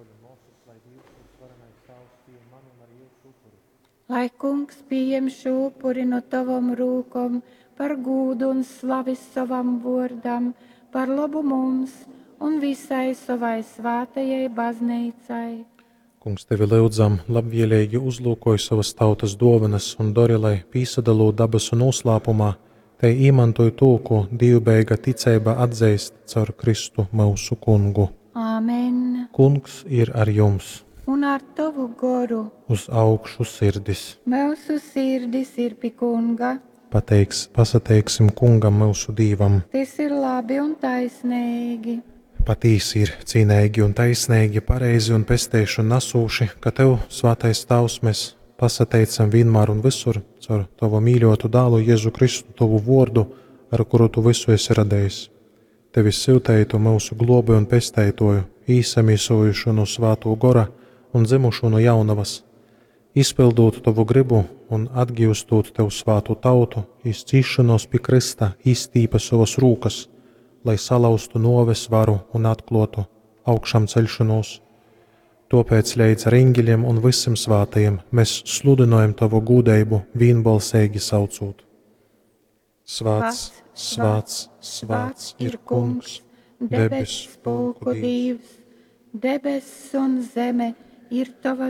Bruoļi un muosys, lai Dīvs, Vysvarenais Tāvs, pījem manu un arī jyusu upuri. Lai kungs pījem šū upuri no tovom rūkom par gūdu un slavi sovam vōrdam, par lobu mums un visai sovai svātajai bazneicai. Kungs, tevi lyudzam, labvieleigi uzlūkoj sovas tautas duovanas un dori, lai, pīsadalūt dabasu nūslāpumā, tei īmantoj tū, kū dīvbejeiga ticeiba atzeist caur Kristu myusu Kungu. Āmen. Kungs ir ar jums! Un ar tovu goru. Uz augšu sirdis! Myusu sirdis ir pi Kunga. Pateiks, pasateiksim Kungam, myusu Dīvam! Tys ir labi un taisneigi. Patīsi ir cīneigi un taisneigi, pareizi un pesteišonu nasūši, ka Tev, Svātais Tāvs, mēs pasateicam vienmēr un visur caur Tavu mīļotu dālu Jēzu Kristu, Tovu vordu, ar kuru Tu visu esi radējis. Tevi syuteitu myusu globēju un pesteitoju, īsamīsojušu no Svātō Gora un dzimušu no jaunavas, izpildūt Tovu gribu un atgīstot Tev svātu tautu, izcīšanos pi Krista izstīpa sovas rūkas, lai salauztu nuoves varu un atklotu augšām ceļšanos. Tāpēc leidz ar eņģeļiem un visiem svātajiem mēs sludinojam Tavu gūdeibu vienbalsīgi saucot. Svāts, svāts, svāts ir Kungs, debess pulku Dīvs, debess un zeme ir tava.